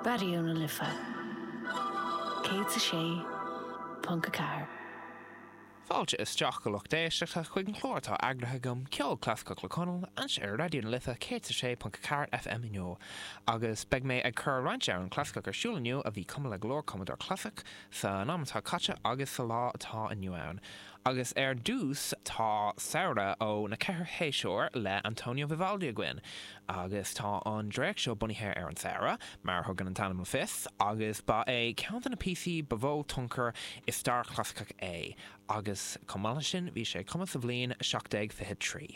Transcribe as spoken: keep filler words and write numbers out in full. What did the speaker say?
Raidió na Life céad a sé ponc a ceathair. Fáilte isteach a lucht éisteachta chuig an chlár atá eagraithe agam ceol clasaiceach le Conall anseo ar Raidió na Life céad a sé ponc a ceathair FM inniu. Agus beidh mé ag cur roinnt amhrán clasaiceach ar siúl inniu a bhí cumtha le go leor cumadóir clasaiceach san am atá caite agus sa lá atá inniu ann. Agus ar dtús tá Samhradh ó na ceithre shéasúr le Antonio Vivaldi againn. Agus tá an dréacht seo bunaithe ar an samhradh, mar thugann an t-ainm le fios, agus ba é ceann de na píosaí ba mhó tionchar i stair chlasaiceach é, agus chomh maith leis sin bhí sé cumtha sa bhliain seacht déag fiche trí.